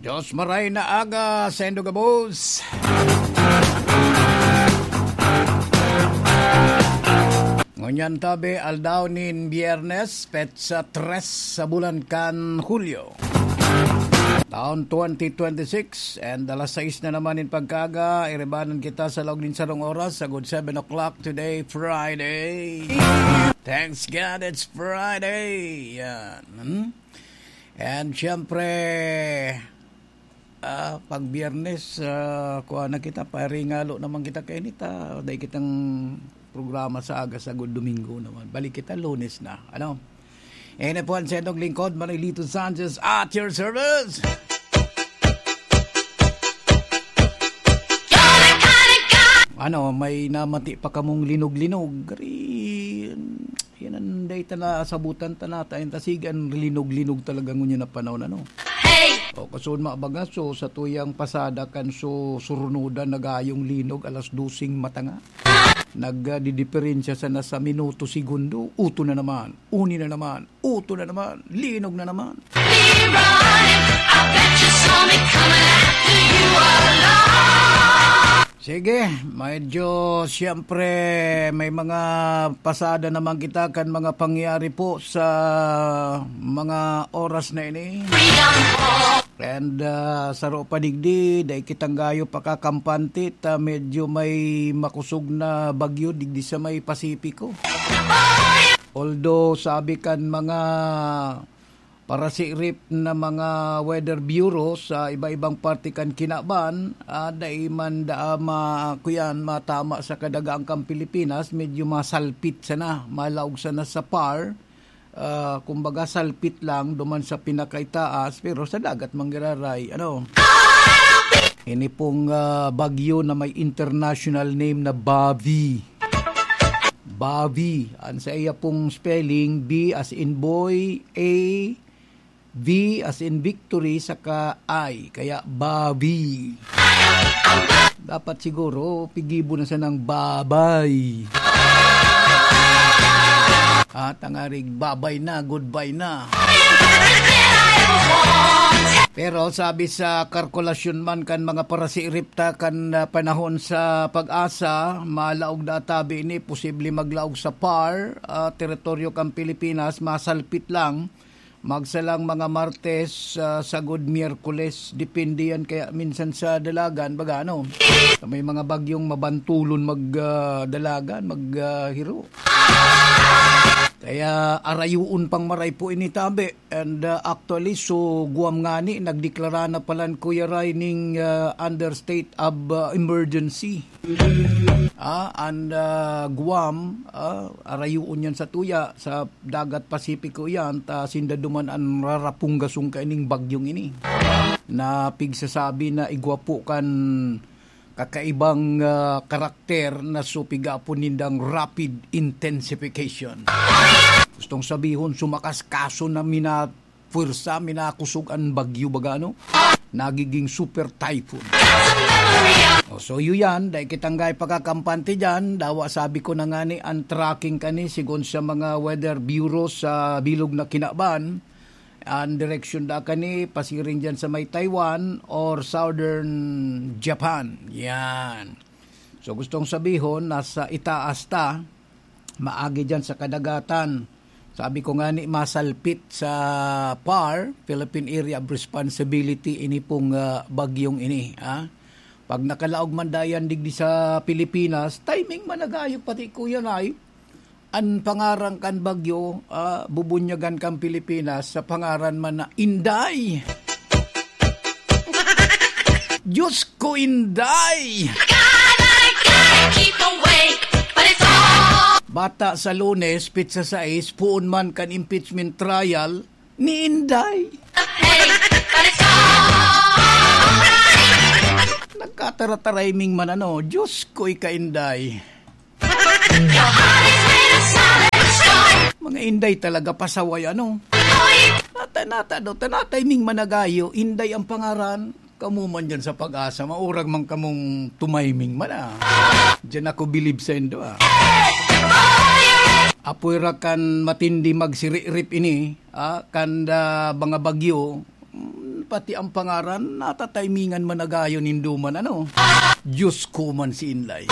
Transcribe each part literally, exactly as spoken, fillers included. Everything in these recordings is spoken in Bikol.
Dios maray na aga saindo gabos. Ngunyan tabi, aldaw nin Biyernes, petsa tres sa bulan kan Hulyo, taon twenty twenty-six, and alas sais na naman nin pagkaaga, iribanan kita sa laog nin sarong oras, sagkod seven o'clock today, Friday. Thanks God it's Friday. Yan. Hmm? And siyempre, ah, pag Biyernes, ah, kuha na kita, paringalo naman kita kainit, ah, dai kitang programa sa aga, sagkod Domingo naman. Balik kita Lunes na. Ano? Yan na po ang sentong lingkod, Manolito Sanchez, at your service. Ano, may namati pa kamong linog-linog? Gari, yan ang dai ta nasabutan ta nata. Yan ta, sige, ang linog-linog talaga ngunyan na panahon, ano? O, kasunod, mabaga, so, sa tuyang pasada kan so, surunudan, nagayong linog, alas doseng matanga. Nagdidiperensya sana sa minuto, segundo, uto na naman, uni na naman, uto na naman, linog na naman. Be running. I bet you saw me coming after you along. Sige, medyo siyempre may mga pasada naman kita kan mga pangyayari po sa mga oras na ini. Freedom. And, ah, saro pa digdi, dai kitang gayo pakakampante ta medyo may makusog na bagyo digdi sa may Pasipiko. Although, sabi kan mga parasirip na mga weather bureau sa iba-ibang parte kan kinaban, ah, dai man daa ma-, kuyan, matama sa kadagatan kan Pilipinas, medyo masalpit sana, malaog sana sa par, ah, kumbaga, salpit lang duman sa pinakaitaas, pero sa dagat manggiraray, ano? Ini pong, ah, bagyo na may international name na Bavi. Bavi. Ang sa iya pong spelling, B as in boy, A, V as in victory, saka I. Kaya Bavi. Dapat siguro, pigibo na sanang babay. At ang arig, babay na, goodbye na. Pero sabi sa kalkulasyon man kan mga parasirip ta kan, ah, panahon sa PAGASA, malaog na tabi ini, posible maglaog sa par, ah, teritoryo kan Pilipinas, masalpit lang. Magsalang mga Martes, ah, sagod Miyerkules, depende yan kaya minsan sa dalagan, baga ano, may mga bagyong mabantulon mag, ah, dalagan, mag, ah, hiro. Kaya arayuon pang maray po ini tabi. And, ah, actually, so Guam ngani, nagdeklara na palan, Kuya Ray, ning, ah, under state of, ah, emergency. Ah, and, ah, Guam, ah, arayuon yan sa tuya, sa dagat Pasipiko yan, ta sinda duman an rarapunggason kaining bagyong ini. Na pigsasabi na igwa po kan kakaibang, ah, karakter na so pigapon nindang rapid intensification. Gustong sabihon, sumakas kaso na mina-, pwersa, minakusog an bagyo baga, ano? Nagiging super typhoon. O, so, yun yan. Dai kitang gay pakakampante dyan. Dawa, sabi ko na nga ni, ang tracking kani, sigon sa mga weather bureau sa bilog na kinaban, ang direksyon da kani, pasiring dyan sa may Taiwan or southern Japan. Yan. So, gustong sabihon, nasa itaas ta, maagi dyan sa kadagatan. Sabi ko nga ni, masalpit sa par, Philippine Area of Responsibility, ini pong, ah, bagyong ini, ah. Pag nakalaog man dayan digdi sa Pilipinas, timing man nagayo pati, Kuya Nay. An pangaran kan bagyo, ah, bubunyagan kan Pilipinas sa pangaran man na Inday. Diyos ko, Inday! Bata sa Lunes, petsa sais, poon man kan impeachment trial ni Inday. Nagkataratarayming man ano, Diyos ko, ika Inday. Mga Inday talaga pasaway, ano? Nata, nata daw, tanatay ming managayo, Inday ang pangaran. Kamo man dyan sa PAGASA, maurag man kamong tumayming man, ah. Diyan ako bilib sa indo, ah. Apoy ra kan matindi magsiririp ini, ah, kan, ah, mga bagyo, mm, Pati ang pangaran, natataymingan man agayon nindo man, ano? Diyos ko man si Inlay.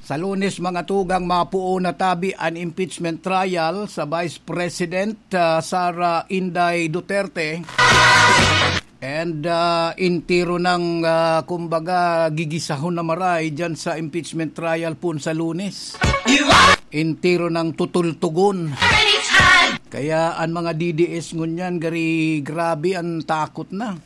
Sa Lunes, mga tugang, mapuo na tabi an impeachment trial sa Vice President, ah, Sara Inday Duterte. And, ah, entero nang, ah, kumbaga, gigisahon na maray dyan sa impeachment trial pon sa Lunes. Entero nang tutultugon. Kaya an mga D D S ngunyan, gari, grabe, an takot na.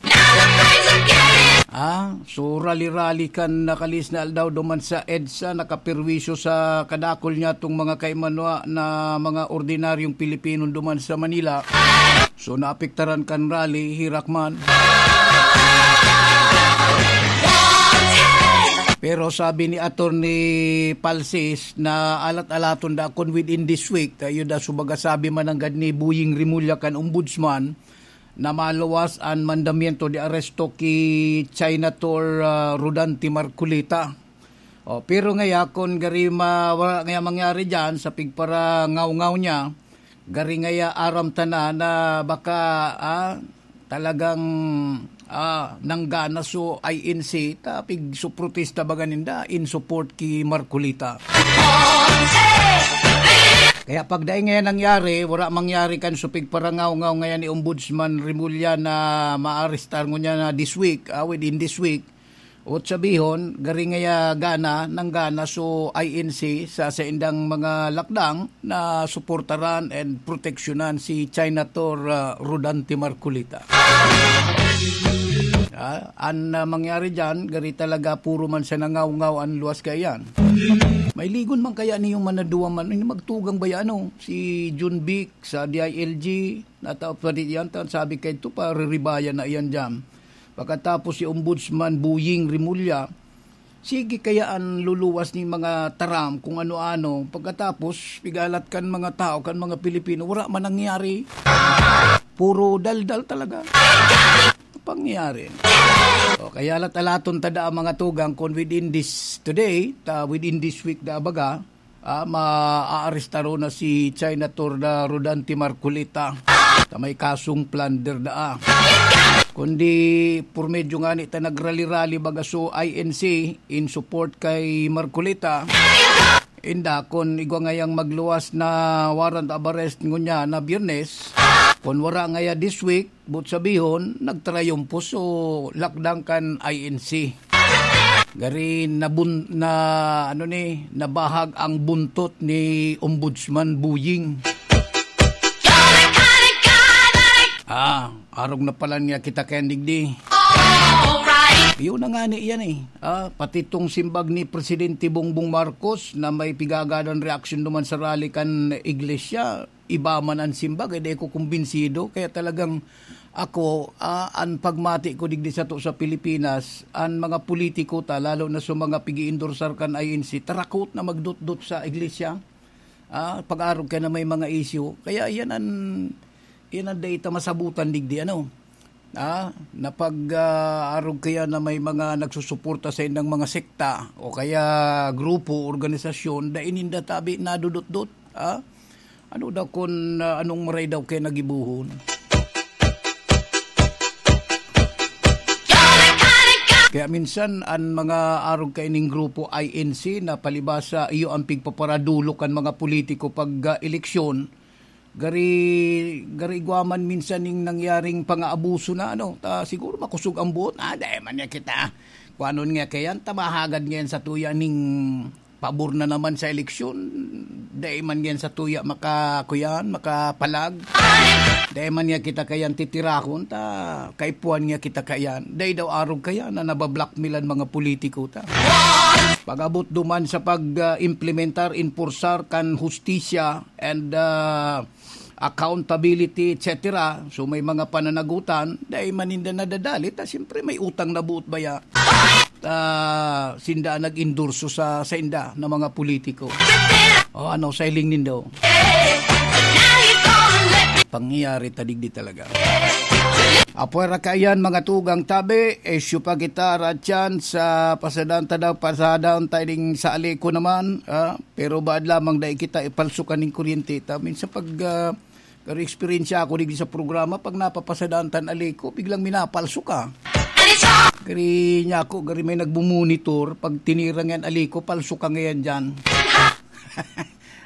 Ah, so rali-rali kan nakalihis na aldaw duman sa EDSA, nakaperwisyo sa kadakul niyatong mga kaimanwa na mga ordinaryong Pilipino duman sa Manila. So, naapektaran kan rally, herak man. Pero sabi ni Attorney Palsis na alat-alaton da kun within this week, tayo da, subaga sabi man nanggad ni Boying Remulla kan Ombudsman na maluwas an mandamiento de arresto ki Senator, ah, Rodante Marcoleta. Oh, pero ngaya, kun gari ma-, wala ngaya mangyari diyan sa pigparangaw-ngaw niya, gari ngaya aram ta na, na baka, ah, talagang, ah, nanggana so I N C, ta pigsuprotesta baga ninda in support ki Marcoleta. Kaya pag dai ngaya nangyari, wala mangyari kan so pigparangaw-ngaw ngaya ni Ombudsman Remulla na maarestar ngunyan na this week, ah, within this week, o sabihon, gari ngaya gana, nanggana so I N C sa saindang mga lakdang na suportaran and proteksyonan si Senator, ah, Rodante Marcoleta. Ah, an, ah, mangyari diyan, gari talaga puro man sa nangawngaw an luwas kaiyan. May ligon man kaya niyong manaduwa man, ini magtugang ba yan, ano? Si Jun Vic sa D I L G, nataw pa rin yan, ta-, sabi kay ito, pariribayan na iyan diyan. Pagkatapos si Ombudsman Boying Remulla, sige kaya an luluwas ni mga taram kung ano-ano. Pagkatapos, pigalat kan mga tao, kan mga Pilipino, wala man nangyari. Puro daldal talaga. Pangyari. O, kaya lat-alaton ta da ang mga tugang kung within this today, ta within this week da baga, ah, maaarestaro na si Senator da Rodante Marcoleta sa may kasong plunder daa. Kundi por medyo ngani ta nagrali-rali baga so I N C in support kay Marcoleta. Inda, kun igwa ngayang magluwas na warrant of arrest ngunyan na Biyernes, kun wara ngaya this week, but sabihon, nagtrayumpo so lakdang kan I N C. Gari nabun-, na, ano ni, nabahag ang buntot ni Ombudsman Boying. Ah, arog na pala niya kita kaya digdi. Iyo na nga ni iyan eh. Ah, pati tong simbag ni Presidente Bongbong Marcos na may pigagadan reaksyon naman sa rally kan iglesia, iba man ang simbag, eh, di ko kumbinsido. Kaya talagang ako, ah, an pagmati ko digdi sato sa Pilipinas, an mga politiko ta, lalo na sa mga pigi-endorsar kan I N C, tarakot na magdutdot sa iglesia. Ah, pag-arog ka na may mga isyu. Kaya yan an, yan an dai ta masabutan digdi, ano? Ah, na pag, ah, arog kaya na may mga nagsusuporta sa indang mga sekta o kaya grupo, organisasyon, dai ninda tabi nadudutdot, ah? Ano daw kun, ah, anong maray daw kaya nagibuhon? Kaya minsan, an mga arog kaining grupo I N C na palibasa iyo ang pigpaparadulok kan mga politiko pag, ah, eleksyon, gari, gari igwa man minsan ning nangyaring pangaabuso na, ano, ta, siguro makosog ang buot. Ah, dai man niya kita, kuanon nga kayan, ta mahagad ngayon sa tuya ning pabor na naman sa eleksyon. Dai man ngayon sa tuya maka, kuyan, makapalag. Dai man niya kita kayan titirahon, ta kaipuhan niya kita kayan. Dai daw arog kaya na nabablackmail an mga politiko ta. Pag-abot duman sa pag, ah, implementar, enforcer kan hustisya and, ah, accountability, et cetera. So, may mga pananagutan, dai man ninda nadadalit, ta siyempre may utang na buot baya. Ah, sinda nag-endorso sa, sa inda na mga politiko. O ano, sa hiling nindo? Pangyayari ta digdi talaga. Apwera kaiyan, mga tugang tabi, isyu pa kita, Ratchan, sa pasadan ta daw, pasadan ta ding sa Aleco naman, ah, pero baad lamang dai kita ipalsukan ning kuryente ta. Minsan pag, ah, garo eksperyensya ako digdi sa programa, pag napapasadan tan Aleco, biglang minapalso ka. Gari niya ako, gari may nagbumonitor, pag tinirang yan Aleco, palso ka ngayon dyan.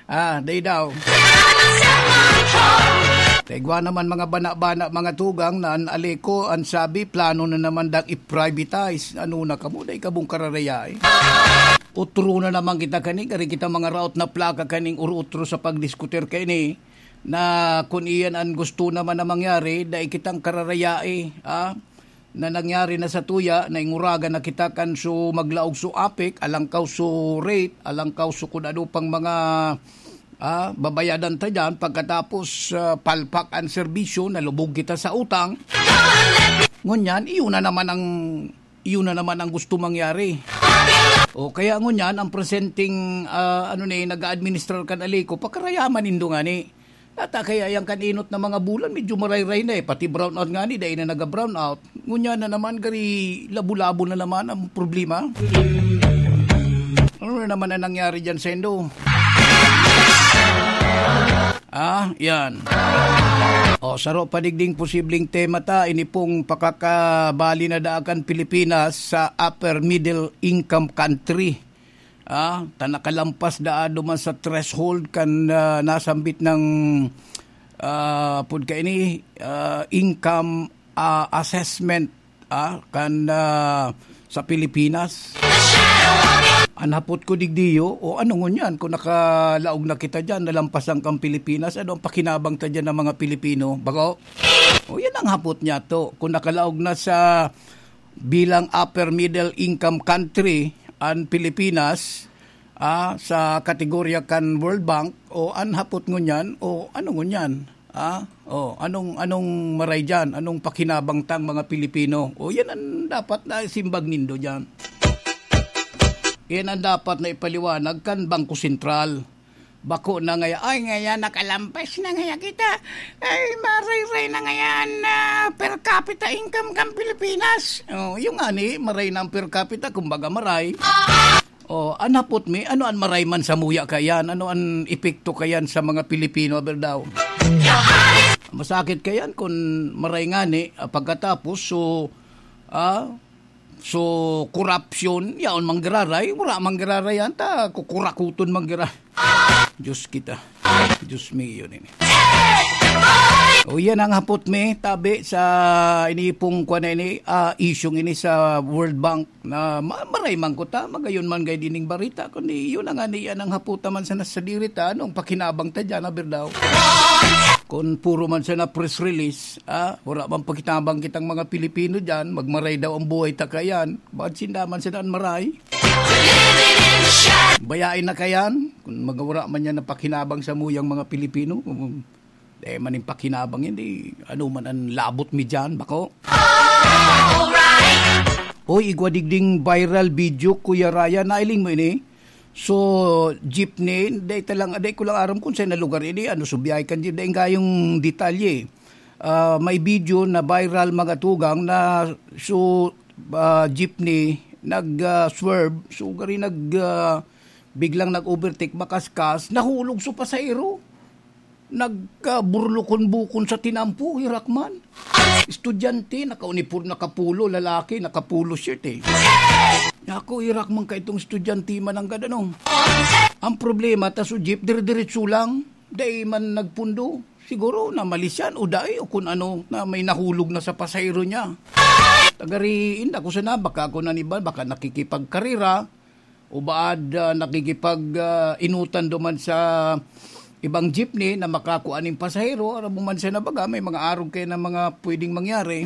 Ah, day daw. Kaigwa naman mga bana-bana, mga tugang, na an Aleco, an sabi, plano na naman dang i-privatize. Ano na kamo, day kabong kararaya eh. Utro na naman kita kani, gari kita mga raot na plaka kaning uro-utro sa pagdiskutir kaini, na kun iyan an gusto naman na mangyari, dai kitang kararaya eh, ah. Na nangyari na sa tuya, nainguragan na kita kan su maglaog su apik, alangkaw su rate, alangkaw su kun ano pang mga, ah, babayadan ta diyan. Pagkatapos, ah, palpak an serbisyo, nalubog kita sa utang. Ngunyan, iyon na naman ang, iyon na naman ang gusto mangyari. O kaya ngunyan, ang presenteng, ah, ano ni, nag-a-administrar kan Aleco, pakarayaman nindo ngani. Ata kaya yang kan-inot na mga bulan, medyo marayray na eh. Pati brownout nga ni, dai na naga-brownout. Ngunyan na naman, gari labo-labo na naman ang problema. Ano na naman ang nangyari dyan, Sendo? Ah, yan. O, saro pa digding posibleng tema ta, ini pong pakakabali na daakan Pilipinas sa upper middle income country. Ah, ta nakalampas daa duman sa threshold kan, ah, nasambit ng, ah, pud kaini, ah, income, ah, assessment, ah, kan, ah, sa Pilipinas. An hapot ko digdiyo, o ano ngunyan, kung nakalaog na kita diyan, nalampasan kang Pilipinas, ano ang pakinabang ta diyan ng mga Pilipino? Bago? O yan ang hapot niya to. Kung nakalaog na sa bilang upper middle income country an Pilipinas, ah, sa kategorya kan World Bank, o an hapot ngunyan, o ano ngunyan? Ah, o anong, anong maray diyan? Anong pakinabang tang mga Pilipino? O yan ang dapat na simbag nindo diyan. Yan ang dapat na ipaliwanag kan Bangko Sentral. Bako na ngaya, ay, ngaya nakalampas na ngaya kita. Ay, marayray na ngayan na per capita income kan Pilipinas. O, yung ani, maray na ang per capita, kumbaga maray. O, an hapot mi, ano an maray man samuya kayan? Ano an epekto kayan sa mga Pilipino, aber daw? Masakit kayan kun maray ngani, ah, pagkatapos, so, ah, so, korapsyon, yaon manggiraray, wala manggiraray yan, ta kukurakuton manggira-, Diyos kita. Diyos mi, yun ini. O, yan ang hapot mi, tabi sa inipong kwa na ini, ah, isyong ini sa World Bank na ma-, maray man ko ta, magayon man gay dining barita, kundi yun na nga ni, yan ang hapot naman sa nasa diri ta, anong pakinabang ta dyan, aber daw? Kung puro man sana press release, ah, wala man pakinabang kitang mga Pilipino dyan, magmaray daw ang buhay ta kayan, bakit sinda man sana an maray? Bayain na kayan, kung magawara man yan na pakinabang sa muyang mga Pilipino, kung, eh, maning pakinabang yan, di, ano man ang labot mi dyan, bako? Oy, igwa digding viral video, Kuya Ryan, nailing mo ini? So, jeepney, dai ta lang, dai ko lang aram kung saan na lugar ini, ano, so, biyahe kan jeep, dai gayong detalye. Ah, may video na viral, mga tugang, na so, ah, jeepney, nag, ah, swerve, so, gari nag, ah, biglang nag-overtake, makaskas, nahulog so pasahero. Nagkaburlukon-bukon sa tinampo, hirak man. Estudyante, nakaunipor-, nakapulo, lalaki, nakapulo shirt eh. Ako, hirak man ka itong estudyante, mananggad, ano? Ang problema, ta so jeep, dire-diretso lang. Dai man nagpundo. Siguro, namalisyan o dai, o kung ano, na may nahulog na sa pasahero niya. Tagariin, ako sana, baka ako naniban, baka nakikipagkarera. O baad, ah, nakikipag, ah, inutan duman sa ibang jeepney na makakua nin pasahero, aram mo man siya na baga, may mga arog kayo na mga pwedeng mangyari.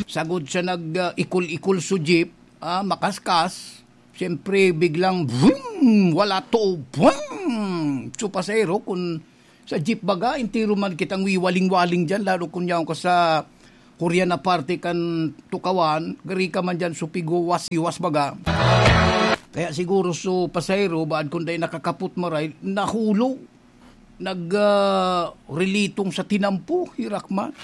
Sagod siya nag, ah, ikol-ikol sa jeep, ah, makaskas, siyempre biglang, vroom! Wala to, vroom! So, pasahero, kung sa jeep baga, entero man kitang wiwaling-waling dyan, lalo kun yaon ka sa Korean na parte kan tukawan, gari ka man dyan, supigo, was-iwas baga. Kaya siguro so pasahero, baad kun dai nakakapot maray, nahulog. nag, ah, rilitong sa tinampo, hirak man.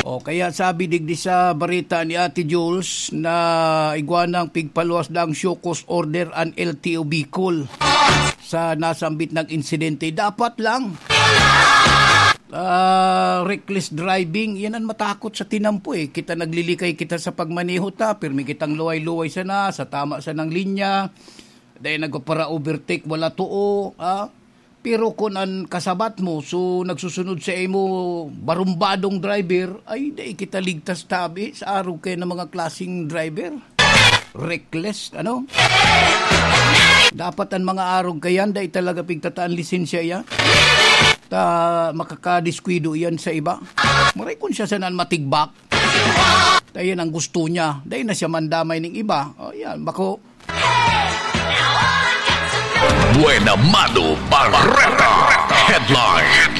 O, kaya sabi digdi sa bareta ni Ate Jules na igwa nang pigpaluwas na ang show cause order an L T O Bicol sa nasambit na insidente. Dapat lang. Ah, reckless driving, yan ang matakot sa tinampo eh. Kita naglilikay kita sa pagmaneho ta, pirmi kitang luway-luway sana, sa tama sanang linya. Dahil nagpapara-overtake, wala too, ah. Pero kun an kasabat mo, so nagsusunod sa imo, barumbadong driver, ay, dai kita ligtas tabi sa arog kaya ng mga klaseng driver. Reckless, ano? Dapat ang mga arog kayan, dai talaga pigtataan lisensya yan. Ta, makakadiskwido yan sa iba. Maray kun siya sana matigbak. Dai yan ang gusto niya. Dai na siya mandamay ning iba. O, yan, bako. Buena Mano Bareta. Headline.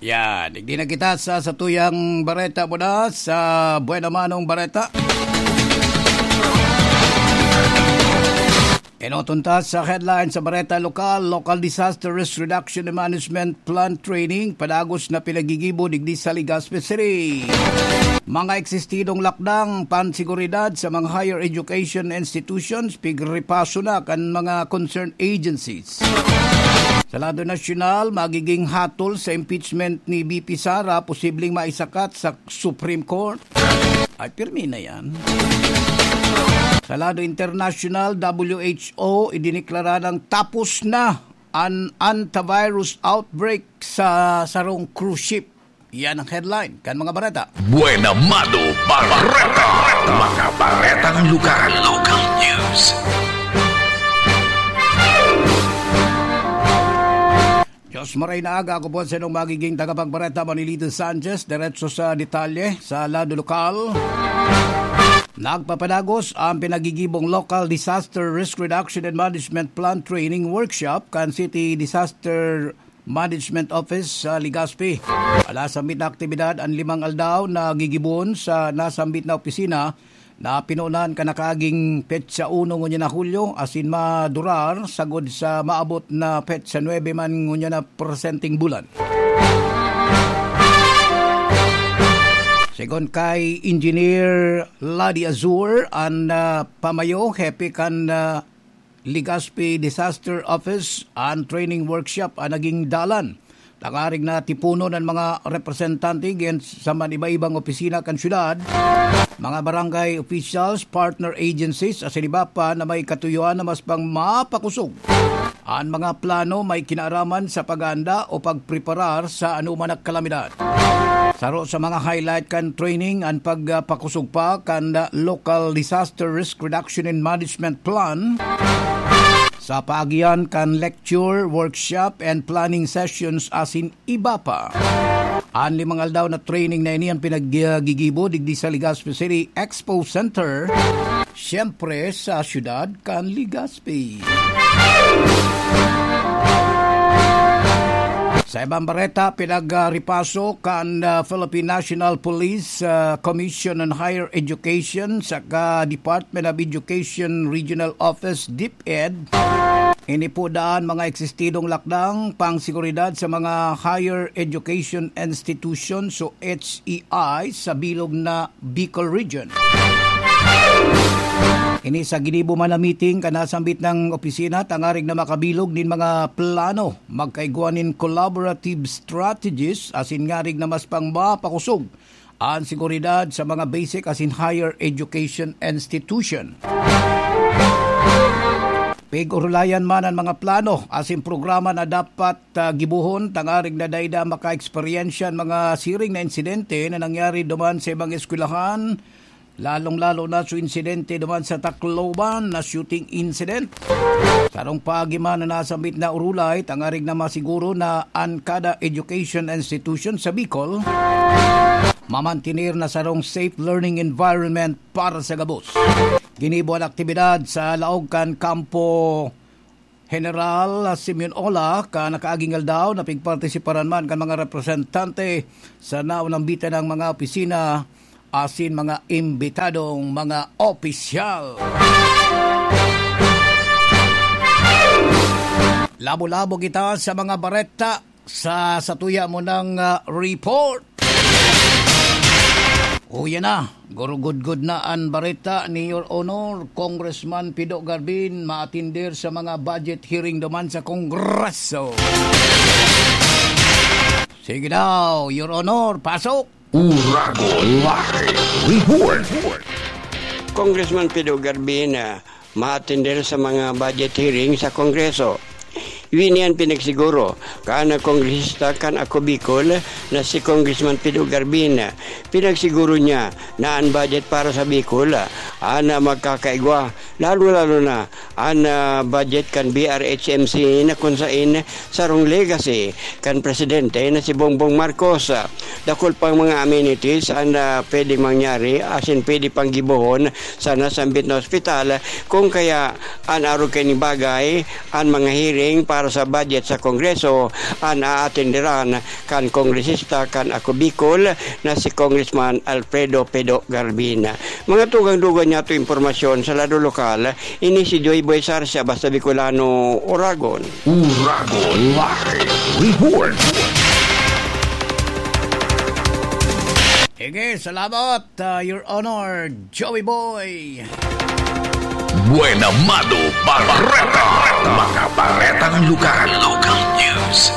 Yan, digdi na kita sa satuyang bareta muna sa Buena Manong Bareta. Enoton ta sa headline sa bareta lokal, Local Disaster Risk Reduction and Management Plan Training, padagos na pinagigibo digdi sa Legazpi City. Mga eksistidong lakdang panseguridad sa mga higher education institutions, pigripaso na kan mga concerned agencies. Sa lado nasyonal, magiging hatol sa impeachment ni V P Sara, posibleng maisakat sa Supreme Court. Ay, pirmi na yan. Sa lado internasyonal, W H O, idineklara ng tapos na an antivirus outbreak sa sarong cruise ship. Yan ang headline kan mga bareta. Buena Mano Bareta. Mga baretang lugar. Local news. Diyos maray na aga, ako po sa inyong magiging tagapagbareta, Manilito Sanchez. Diretso sa detalye, sa lado lokal. Nagpapadagos ang pinagigibong Local Disaster Risk Reduction and Management Plan Training Workshop kan City Disaster Management Office sa Legazpi. Ala sambit na aktibidad an limang aldaw na gigibon sa nasambit na opisina na pinunan kan nakaaging petsa uno ngunyan na Hulyo asin madurar sagod sa maabot na petsa nuebe man ngunyan na presenteng bulan. Segun kay Engineer Ladi Azur, an, ah, pamayo, hepe kan, ah, Legazpi Disaster Office, an training workshop an naging dalan tangarig na tiponon an mga representante giyan sa man iba-ibang opisina kan syudad, mga barangay officials, partner agencies, asin iba pa na may katuyoan na mas pang mapakosog an mga plano may kinaaraman sa paghahanda o pagpreparar sa anoman na kalamidad. Saro sa mga highlight kan training an pagpakosog pa kan Local Disaster Risk Reduction and Management Plan sa paagihan kan lecture, workshop, and planning sessions asin iba pa. An limang aldaw na training na ini an pinaggigibo digdi sa Legazpi City Expo Center, siyempre sa siyudad kan Legazpi. Sa ibang bareta, pinagripaso kan, ah, Philippine National Police, ah, Commission on Higher Education saka Department of Education Regional Office, DepEd. Ini po daan mga eksistidong lakdang pang seguridad sa mga higher education institutions o H E I sa bilog na Bicol Region. Ini sa ginibo man na meeting kan nasambit na opisina tangarig na makabilog nin mga plano, magkaigwa nin collaborative strategies asin ngarig na mas pang mapakosog an seguridad sa mga basic asin higher education institution. Pig-orulayan man an mga plano asin programa na dapat, ah, gibohon tangarig na dai da maka-eksperyensya an mga siring na insidente na nangyari duman sa ibang eskwelahan, lalong-lalo na sa insidente duman sa Tacloban na shooting incident. Sarong paagi man na nasambit na orulay, tangarig na masiguro na an kada education institution sa Bicol mamantener na sarong safe learning environment para sa gabos. Ginibo an aktibidad sa laog kan Kampo General Simeon Ola, kan nakaaging aldaw na pigpartisiparan man kan mga representante sa naunambitan ng mga opisina asin mga imbitadong mga opisyal. Labo-labo kita sa mga bareta sa satuya mo ng, ah, report. O, yan na. Gurugudgod na an bareta ni Your Honor, Congressman Pido Garbin, maatinder sa mga budget hearing duman sa Kongreso. Sige daw, Your Honor, pasok! Uragon Live Report. Congressman Pido Garbin, ah, maatinder sa mga budget hearing sa Kongreso. Ini an pinagsiguro kan kongresista kan Ako Bicol na si Congressman Pido Garbin. Pinagsiguro niya na an budget para sa Bicol, ah, na magkakaigwa, lalo-lalo na an, ah, budget kan B R H M C na kun sain sarong legacy kan presidente na si Bongbong Marcos. Dakul pang mga amenities an, ah, pwedeng mangyari asin pwede pang gibohon sana sambit na ospital, kung kaya an arog kaini bagay, an mga hearing para sa budget sa Kongreso an aatenderan kan kongresista kan Ako Bicol na si Congressman Alfredo Pido Garbin. Mga tugang-dugang niyato impormasyon sa lado lokal, ini si Joy Boy Sarsia, Basta Bicolano, Uragon. Uragon Live Report. Sige, salamat, ah, Your Honor, Joey Boy. Buena Mano Bareta. Mga baretang lugar. Local news.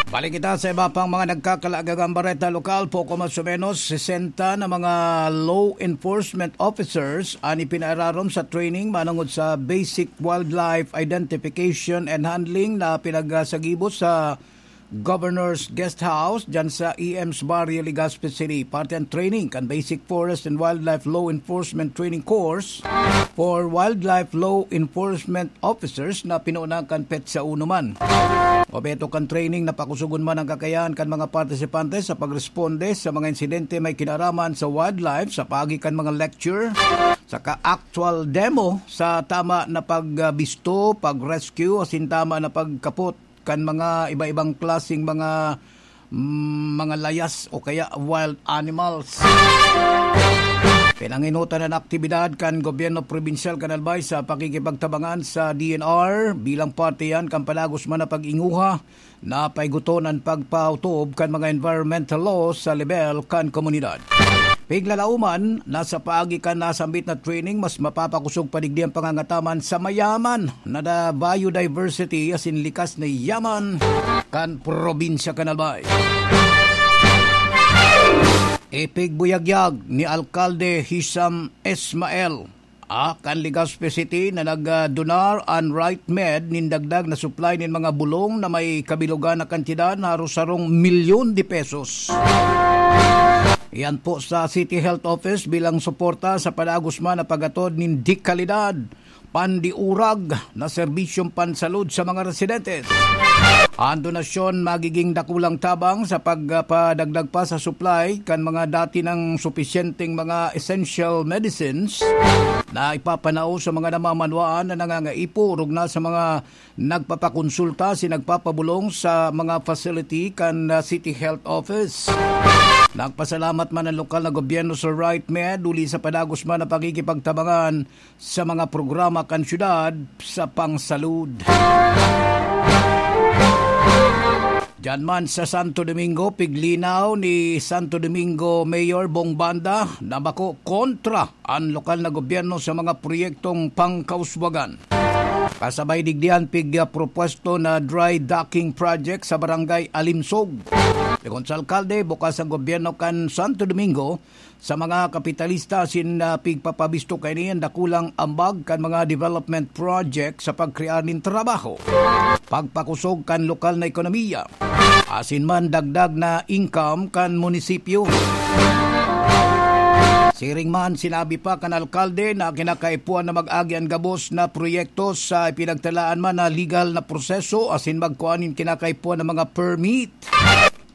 Balik kita sa iba pang mga nagkakalaagagang bareta lokal. Poko mas o menos sesenta na mga law enforcement officers an ipinaararom sa training manongod sa basic wildlife identification and handling na pinagsagibo sa Governor's Guest House, dyan sa E M's Barrio, Legazpi City. Parte an training kan Basic Forest and Wildlife Law Enforcement Training Course for Wildlife Law Enforcement Officers na pinunan kan petsa uno man. Obheto kan training na pakusogon man ang kakayahan kan mga partisipante sa pagresponde sa mga insidente may kinaraman sa wildlife sa paagi kan mga lecture, saka actual demo sa tama na pagbisto, pag-rescue, asin tama na pagkapot kan mga iba-ibang klaseng mga, mm, mga layas o kaya wild animals. Pinanginutan an aktibidad kan gobyerno probinsyal kan Albay sa pakikipagtabangan sa D N R. Bilang parte yan kan padagos man na pag-inguha na paiguton an pagpautob kan mga environmental laws sa lebel kan komunidad. Piglalauman, nasa paagi kan nasambit na training, mas mapapakosog pa digdi an pangangataman sa mayaman na da-, biodiversity asin likas na yaman kan probinsya kan Albay. Ipigbuyagyag ni Alkalde Hisam Ismael, ah, kan Legazpi City na nagdunar an Right Med nin dagdag na supply nin mga bulong na may kabilogan na kantidad na haros sarong milyon de pesos. Iyan po sa City Health Office bilang suporta sa padagos man na pag-atod nin dekalidad, pandiurag na serbisyong pansalud sa mga residentes. Ang donasyon magiging dakulang tabang sa pagpadagdag pa sa supply kan mga dati nang supisyenteng mga essential medicines na ipapanao sa mga namamanwaan na nangangaipo, orog na sa mga nagpapakonsulta asin nagpapabulong sa mga facility kan, ah, City Health Office. Nagpasalamat man ang lokal na gobyerno sa Right Med huli sa padagos man na pakikipagtabangan sa mga programa kan syudad sa pangsalud. Diyan man sa Santo Domingo, piglinaw ni Santo Domingo Mayor Bong Banda na bako kontra an lokal na gobyerno sa mga proyektong pangkauswagan. Kasabay digdi an pig-, ah, propuesto na dry docking project sa Barangay Alimsog. Segun sa alkalde, bukas ang gobyerno kan Santo Domingo sa mga kapitalista asin, ah, pigpapabisto kaini an dakulang ambag kan mga development project sa pagkrear nin trabaho, pagpakusog kan lokal na ekonomiya, asin man dagdag na income kan munisipyo. Siring man, sinabi pa kan alkalde na kinakaipuhan na mag-agi an gabos na proyekto sa ipinagtalaan man na legal na proseso asin magkua nin kinakaipuhan na mga permit,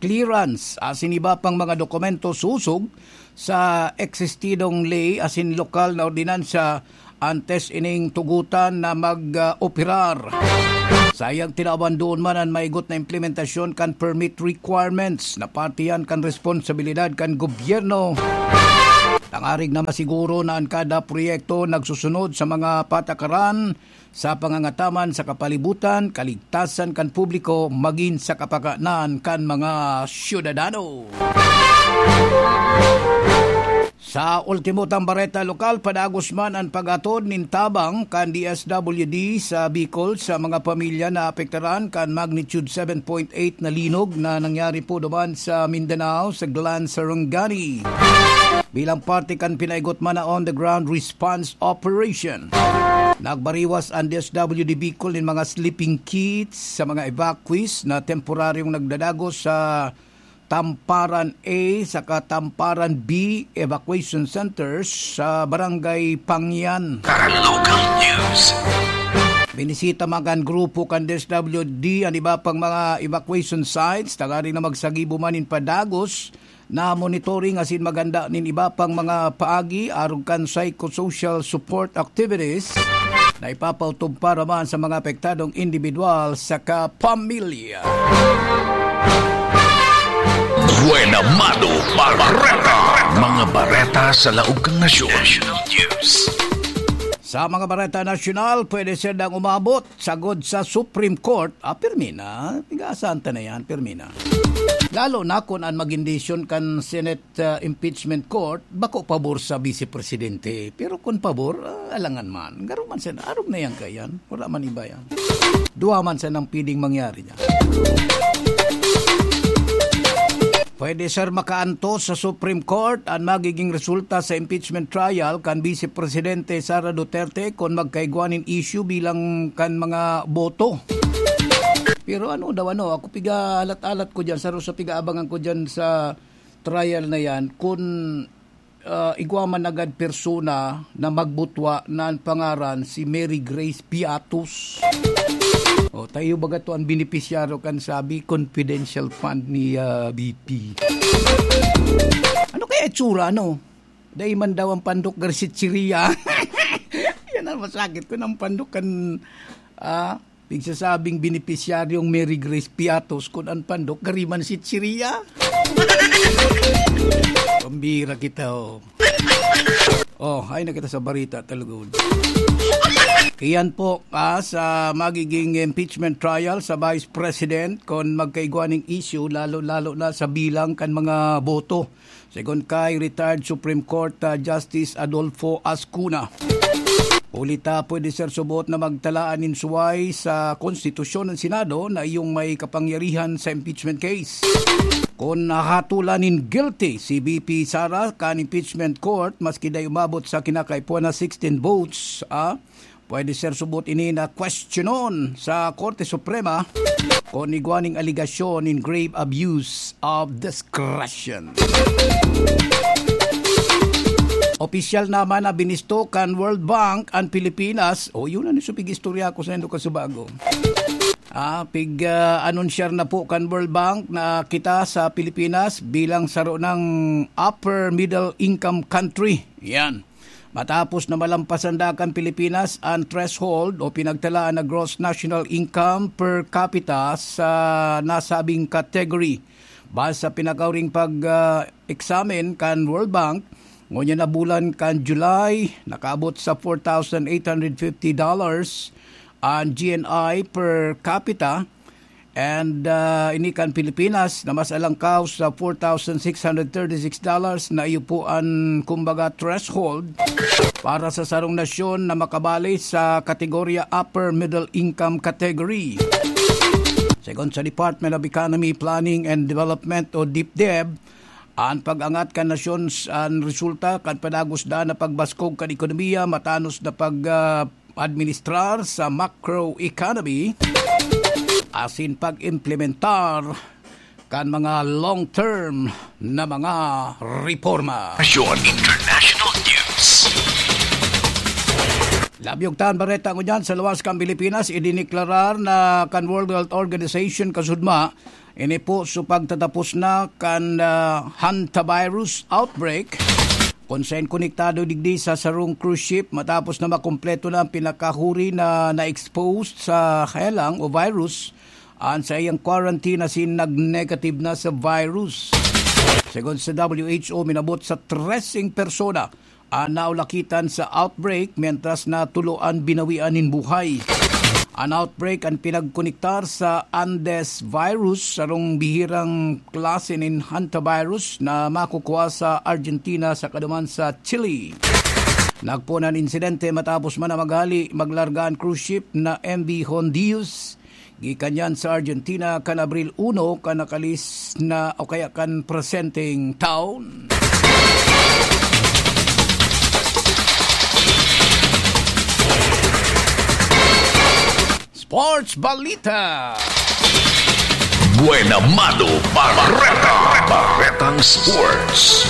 clearance, asin iba pang mga dokumento sosog sa eksistidong ley asin lokal na ordinansa antes ining tugotan na mag, ah, operar. Sayang, tinawan doon man an maigot na implementasyon kan permit requirements na parte yan kan responsibilidad kan gobyerno Tangarig na masiguro na an kada proyekto nagsusunod sa mga patakaran sa pangangataman sa kapalibutan, kaligtasan kan publiko, magin sa kapakanan kan mga syudadano. Sa ultimo tang bareta lokal, padagos man an pag-atod nin tabang kan D S W D sa Bicol sa mga pamilya na apektaran kan magnitude seven point eight na linog na nangyari po duman sa Mindanao, sa Glan, Sarangani, bilang parte kan pinaigot man na on-the-ground response operation. Nagbariwas an D S W D Bicol nin mga sleeping kits sa mga evacuees na temporaryong nagdadagos sa Tamparan A saka Tamparan B evacuation centers sa Barangay Pangyan. Tagalog News. Binisita man kan grupo kan D S W D an iba pang mga evacuation sites, tanganing na magsagibo man nin padagos na monitoring asin maghanda nin iba pang mga paagi arog kan psychosocial support activities na ipapautob para man sa mga apektadong individual saka pamilya. Buena Mano Bareta. Mga bareta sa laog kan nasyon. National News. Sa mga bareta nasyonal, pwede sindang umabot sagod sa Supreme Court. Ah, pirmi na. Piga-asahan ta na yan, pirmi na. Lalo na kung an magin desisyon kan Senate, ah, Impeachment Court, bako pabor sa Vice Presidente. Pero kung pabor, ah, alangan man. Garo man siya, arog na yan kaiyan. Wala man iba yan. Duwa man siya nang pwedeng mangyari niya. Pwede, sir, makaantos sa Supreme Court an magiging resulta sa impeachment trial kan Vice Presidente Sara Duterte kun magkaigwa nin issue bilang kan mga boto. Pero ano daw, ano, ako piga-alat-alat ko diyan, saro sa piga-abangan ko diyan sa trial na yan, kun, ah, igwa man agad persona na magbutwa na an pangaran si Mary Grace Piatos. O, tayo baga to ang benepisyaryo kan sabi, confidential fund ni, ah, V P. Ano kaya itsura, ano? Dai man daw ang pandok garsitsiria. Yan ang masakit ko ng pandok kan, ah, pigsasabing benepisyaryong Mary Grace Piatos kun an pandok gari man sitsiria. Pambira kita, oh. Oh, ay na kita sa barita, talugod. Iyan po, ah, sa magiging impeachment trial sa Vice President, kung magkaigwa ning issue, lalo-lalo na sa bilang kan mga boto. Segun kay retired Supreme Court, ah, Justice Adolfo Azcuna. Huli ta pwede, sir, subot na magtalaan nin suway sa konstitusyon ng Senado na iyong may kapangyarihan sa impeachment case. Kung nahatulan nin guilty si V P Sara kan impeachment court, maski dai umabot sa kinakaipuhan na sixteen votes, ah, pwede, sir, subot ini na kwestiyonon sa Korte Suprema kung igwa ning alegasyon in grave abuse of discretion. Opisyal naman na binisto kan World Bank an Pilipinas. O, yun ang isubig istorya ko sa indo kasubago. Ah, pig, ah, anunsyar na po kan World Bank na kita sa Pilipinas bilang saro ng upper middle income country. Yan. Matapos na malampasan da kan Pilipinas ang threshold o pinagtalaan na gross national income per capita sa nasabing category. Base sa pinakauring pag, ah, eksamen kan World Bank, ngunyan na bulan kan July, nakaabot sa four thousand eight hundred fifty dollars ang G N I per capita. And, ah, ini kan Pilipinas na mas alangkaw sa four thousand six hundred thirty-six dollars na iyo po an, kumbaga, threshold para sa sarong nasyon na makabali sa kategorya upper middle income category. Segun sa Department of Economy, Planning and Development o DepDev, an pag-angat kan nasyon s-, an resulta kan padagos daa na pagbaskog kan ekonomiya, matanos na pag, ah, administrar sa macroeconomy, asin pag-implementar kan mga long-term na mga reforma. Nasyon International News. Labyog tan bareta ngunyan sa luwas kan Pilipinas, idineklarar na kan World Health Organization kasudma, ini po sa pagtatapos na kan, ah, hantavirus outbreak, kung saen konektado digdi sa sarong cruise ship matapos na makumpleto na ang pinakahuri na na-exposed sa helang o virus an saiyang quarantine asin nag-negative na sa virus. Segun sa W H O, minabot sa treseng persona an naulakitan sa outbreak, mientras na tulo an binawian nin buhay. An outbreak an pinagkonektar sa Andes virus, sarong bihirang klase nin hantavirus na makukuha sa Argentina saka duman sa Chile. Nagpoon an insidente matapos man na maghali maglarga an cruise ship na M V Hondius gikan yan sa Argentina kan Abril uno, kan nakalis na o kaya kan presenteng taon. Sports Balita. Buena Mano Barreta. Barretang Sports.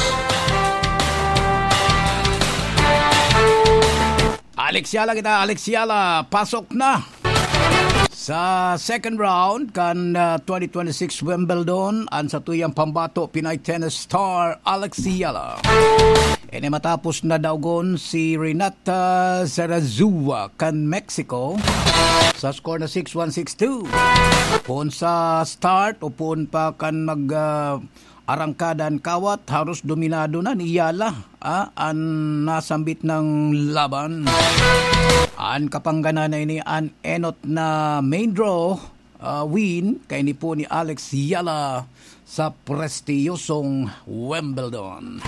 Alex Yala kita, Alex Yala, pasok na sa second round kan, ah, twenty twenty-six Wimbledon. An satuyang pambato, Pinay tennis star Alex Yala. Ini matapos na daogon si Renata Zarazua kan Mexico sa score na six one, six two. Poon sa start o poon pa kan mag, ah, arangkada an kawat, haros dominado na ni Yala, ah, an nasambit nang laban. An kapangganan na ini an enot na main draw, ah, win kaini po ni Alex Yala sa prestiyosong Wimbledon.